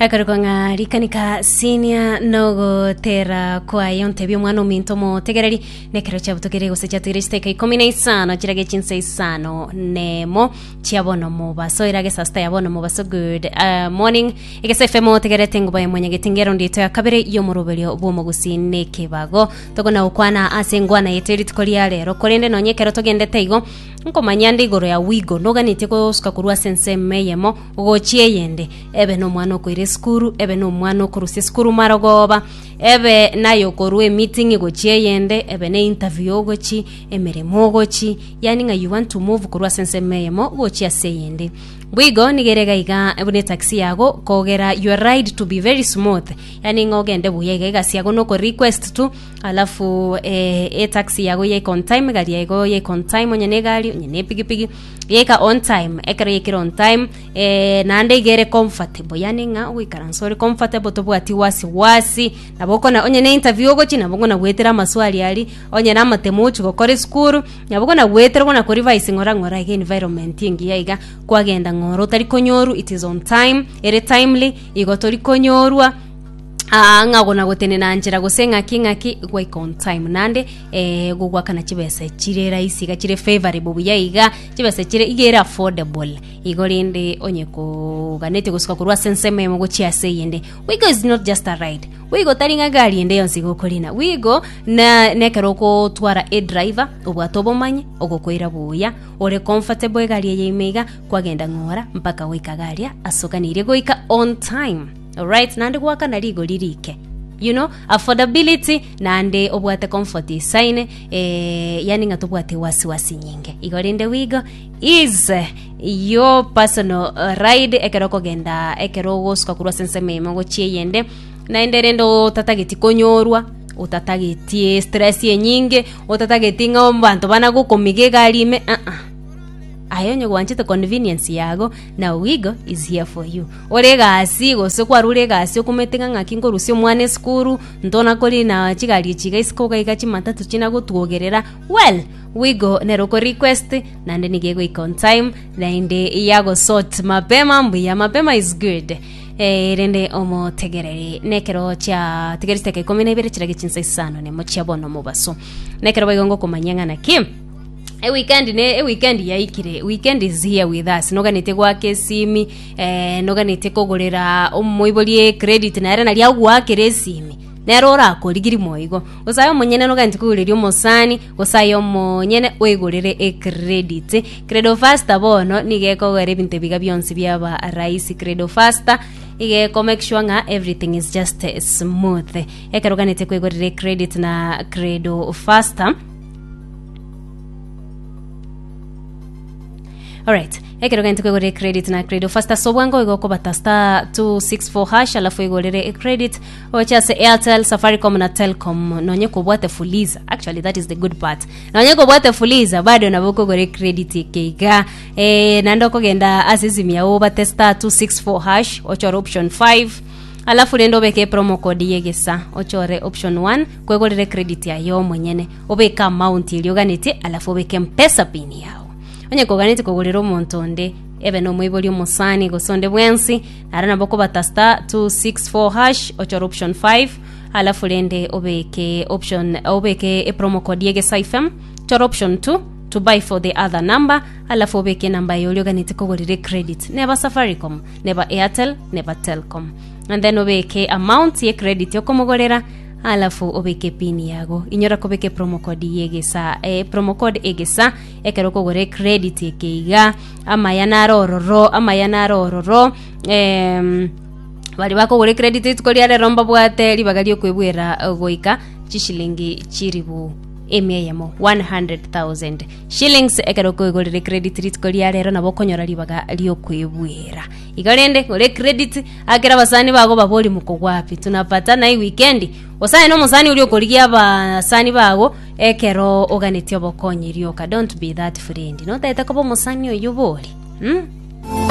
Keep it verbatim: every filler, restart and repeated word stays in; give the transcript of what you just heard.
Ekorokwa ng'a rikanika senior nogotera kwaye ontebia omwana ominto omotegereri nekero chiabutokere gose chiatigire chiteka ikomi na isano chirage chinsa isano nemo chia bono mobaso erage saa sita ya bono mobaso. Good uh, morning, Egesa F M, otegerete enguba ya mwanyageti ngero ndito ya kabere y'omoroberio bw'omogusi nekebago tokona gokwana ase engwana yetu rituko ria rero. Korende nonye ekero togendete igo nkomanya nde igoro ya wigo noganetie gosuka korwa ase ensemo eyemo gochia eyende, ebe nomwana okoira esukuru, ebe nomwana okorusia esukuru marogoba, ebe naye okorwa emeeting gochia eyende, ebe ne interview ogochi emeremo ogochi, yani ng'a you want to move korwa ase ensemo eyemo gochia ase eyende. Bwigo nigere iga buna etaxi yago kogera your ride to be very smooth, yani ng'a ogende buya iga egasi yago noko request tu, alafu eh, etaxi yago yaika on time, egari yago yaika on time, onye na egari onye na epigipigi yaika on time. Ekero yaikire on time, eh, naende igere comfortable, yani ng'a ogoikaransa ore comfortable, tobwati wasiwasi. Nabo okona onye na interview ogochi, nabo okona goetera amaswali ari, onye na amatemo ochi gokora esukuru, nabo okona goetera okona korevise ng'ora ng'ora iga environment engiya iga kwagenda ng'ora otari konyoru. It is on time, ere timely, igo tori konyorwa Ah, ng'a gona gotenena nchera gose ng'aki ng'aki gwaika on time. Nande eh, gogwakana chibesa chire rahisi iga chire favorable buya iga chibesa chire iga ere affordable igo. Rende onye koganete gosuka korwa ase ensemo emo gochia ase eyende, Wigo is not just a ride. Wigo tari ng'a gari ende yonsi gokorina. Wigo na nekero ogotwara edriver obwate obomanyi ogokoira buya ore comfortable egari eye ime iga kwagenda ng'ora mpaka goika garia asoganirie goika on time. Alright, nande gwakana rigori rike, you know affordability, nande obwate comfort isaine, eh, yani ng'a tobwate wasiwasi nyinge igo. Rende Wigo is eh, your personal uh, ride ekero okogenda, ekero ogosuka korwa ase ensemo emo gochia eyende, naende rende otatageti konyorwa, otatageti stress enyinge, otatageti ng'a abanto bana gokomiga egari ime uh -uh. Aye onye gwanchete convenience yago, now Wigo is here for you. Ore egasi gose kwarure egasi okomete ng'a ng'aki nkorusia omwana esukuru ntona korina chigari echi iga isiko iga iga chimatatu chinagotwogerera. Well, Wigo nero oko request, naende nigo egoika on time, naende yagosort mapema mbuya, mapema is good. Eh, rende omotegereri nekero chia tigeri chiteka ikomi na ibere chirage chinsa isano nemo chia bono mobaso nekero baigo ngokomanyia ng'a naki eweekend ne eweekend yaikire. Weekend is here with us. Noganete gwaka esimi, eh, noganete kogorera omoibori credit nere nari agwakera esimi nere orakorigiri moigo gose aye omonyene noganete kogoreria omosani gose aye omonyene oigorere ecredit. Credo Faster bono nigo ekogera ebinto ebiga bionsi biaba rahisi. Credo Faster iga make sure ng'a everything is just eh, smooth. Ekero oganete kwegorera ecredit na Credo Faster. Alright, ekero gento kwegorera credit na Credo Faster so bwango igo okobata star two six four hash, alafu igorere credit oche ase Airtel, Safaricom na Telcom. Nonye kobwate Fuliza, actually that is the good part, nonye kobwate Fuliza bado nabo okogora credit ekeiga, eh, naende okogenda ase esimu yago obate star two six four hash, ochore option five, alafu rende obeke promo code yegesa, ochore option one kwegorere credit yayo omonyene, obeke amount eria oganetie, alafu obeke Mpesa PIN yago. Onye koganete kogorera omonto onde, ebe nomoibori, omosani gose onde bwensi, naro nabo okobata star two six four hash, ochore option five, alafu rende obeke option, obeke epromo code yegesa F M, chora option two to buy for the other number, alafu obeke enamba yayo oria oganete kogorera credit, neba Safaricom, neba Airtel, neba Telcom, and then obeke amount ye credit okomogorera, alafu obeke pin yago. Inyora kobeke promo code yegesa, eh, promo code egesa ekero okogora credit ekeiga. Amaya naro ororo, amaya naro ororo. em, bari bakogora credit rituko ria rero mbabwate ribaga riokwebwera eh, goika chishilingi chiribu emia eyemo, one hundred thousand shillings. Ekero okoigorera credit rituko ria rero nabo okonyora ribaga riokwebwera igo. Rende gore credit akera abasani bago babori mko wapi, tunapatana hii weekend. Osaye na omosani oria okorigia abasani bago ekero oganetie obokonyi rioka. Don't be that friend, notaete koba omosani oyo bori, hmm?